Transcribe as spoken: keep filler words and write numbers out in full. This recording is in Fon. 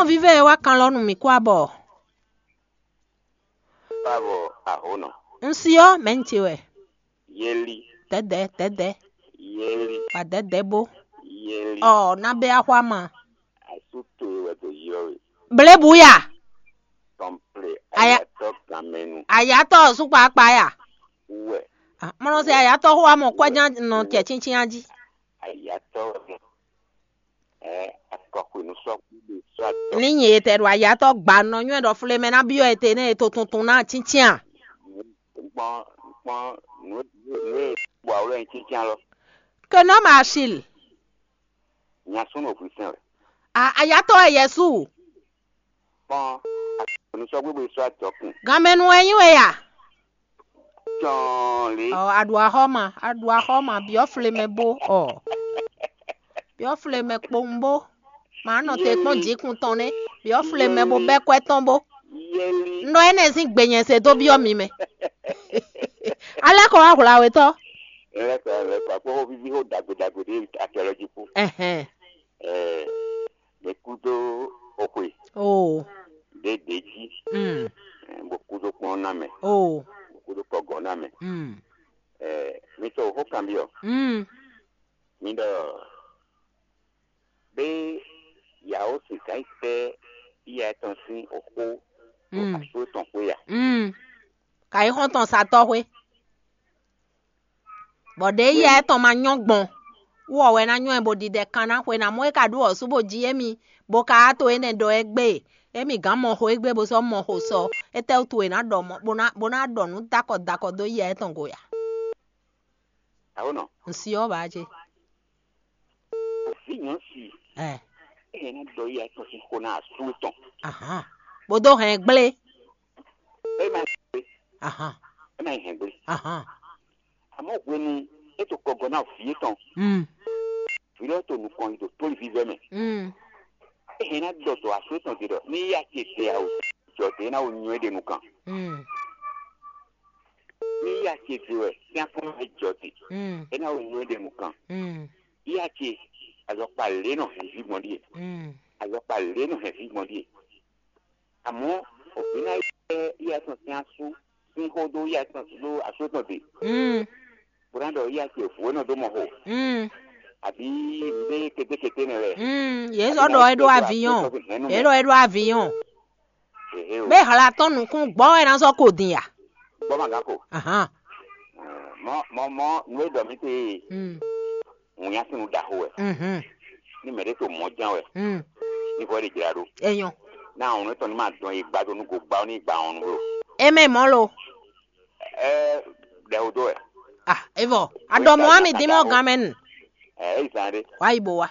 Vive e wá kan lɔ nú mì kú abɔ. Báwo ahónɔ? Un si ɔ́, mɛ̌ un ce wɛ? Yéli. Dɛ̌dɛ̌, dɛ̌dɛ̌. Yéli. Wa dɛ̌dɛ̌ bó. Yéli. Ɔ, ná bɛ axwa ma. Asú towe wɛ dó yɔ we. Blebu ya. Tɔnple. Aya- Ayatɔ ganmɛnu. Ayatɔ sukpakpa ya. Wɛ. Ah, mɔnɔ se ayatɔ xo amɔ kwɛjan nɔ tɛ tsintsin aji. Ayatɔ wɛ. Ɛ akɔxwenu sɔ kúɖe sɔ atɔ. Ní nyi etɛ ɖo ayatɔ gba nɔ nywɛ ɖɔ fle mɛ ná byɔ́ ete nɛ e to tuntun ná tsintsin a? Kpɔn kpɔn nǔ nǔ e bɔ awlo ɛ tsintsin alɔ. Que non ma achil. Nya súnnu òfin sɛn wɛ. A ayatɔ ɛ Yesu. Kpɔn akɔxwenu sɔ gbégbé sɔ atɔ kun. Ganmɛnu ɛ nyi we ya. Tɔn lé. Ɔ, aɖu axɔ ma, aɖu axɔ ma, biɔ fle mɛ bó ɔ. Biɔ fle mɛ kpowun bó. Ma nɔ te kpɔn jikun tɔn nɛ. Biɔ fle mɛ bó bɛ kwɛ tɔn bó. Yɛli. Un ɖɔ énɛ́ sín gbe nyɛ se dó byɔ́ mi mɛ. Alɛ kɔ wá hwla we tɔ́. Lɛkɔ lɛkɔ akpɔ xó vivi xó dagbe dagbe ɖé akɛlɔ jí kú. Ɛhɛn. Ɛɛ, ɖe kúdó oxwe. Oo. Ɖe ɖe jí. Mm. Ɛɛ, bó kúdó kplɔ́n ná mɛ. Oo. Bó kúdó kɔgɔ ná mɛ. Mm. Ɛɛ, mi tɔ xó kanbyɔ. Mm. Mi ɖɔ bé yàwó sìgá yi tɛ iya tɔn sín oxó ɖo Mm. Asú tɔn xwé ya. Mm. Ka yi xɔ́ntɔn satɔ́ xwé. Bɔ ɖě yɛ étɔn ma nyɔ́ gbɔn, wú ɔ wɛ ná nyɔ́ ɛ bó ɖiɖɛ kan ná xwe ná mɔ é ka ɖó ɔ̌ sú bó jí émí, bó ka wá to énɛ́ ɖɔ é gbé. Émí gǎn mɔ xo égbé bó sɔ́ mɔ xo sɔ, étɛ́wútu è nǎ ɖɔ mɔ bó ná bó ná ɖɔ nǔ dakɔ dakɔ dó yɛ étɔn go ya? Awo nɔ. Ŋsi ɔ́ ba ce. Vǐ nyɔ̌si. Ɛ. Eye ná ɖɔ iya tɔn sín xó ná asú tɔn. Ahan. Bó dó hɛn gblé. É ma Ahan. É ma hɛn gblé. Ahan. Àmọ́ hwenu é to kɔgɔ ná vǐ étɔn. Mm. Vǐ lɔ to nukɔn yi ɖo tóli vívɛ́ mɛ. Mm. É hɛn ná ɖɔ dɔ̌ asú étɔn ɖe ɖɔ ní yá ce ɖe awu jɔ ɖe é ná wo nyɔ é ɖe nukɔn. Mm. Ní yá ce ɖe wɛ sín akɔn mɛ jɔ ɖe Mm. é ná wo nyɔ é ɖe nukɔn. Mm. Yá ce azɔkpa lě nɔ hɛn vǐ gbɔn ɖíe. Mm. Azɔkpa lě nɔ hɛn vǐ gbɔn ɖíe. Àmọ́ òfin ná yɛ yá tɔn sín asú sín xó dó yá tɔn dó asú tɔn ɖe. Mm. Bó ná ɖɔ yá ce vǔ é nɔ dó mɔ xo. Mm. Àbí nǔɖé kétékété nɛ lɛ. Mm. Yě sɔ́ ɖɔ é ɖó aviyɔn. Yě ɖɔ é ɖó aviyɔn. Ehe o. Bé hla tɔn nukún gbɔ wɛ ná sɔ́ ko din ya. Gbɔ ma gán ko. Ahan. Mɔ mɔ mɔ nú é ɖɔ mí te. Mm. Ŋun nya sín nu ɖaxó wɛ. Mhm. Ní mɛ ɖé to mɔ ján wɛ. Mm. Ní vɔ é ɖe jla ɖó. Enyɔ. Ná àwọn onú tɔn ní ma dɔn yi gbado nú go gbá ní gba àwọn onú blo. Eme mɔ lo. Ɛ ɖɛ o dó wɛ. Ah, evɔ. Aɖɔ mɔ ami dín mɔ gan mɛ nu. Ɛ eyi zan ɖé. Wa yi bo wa.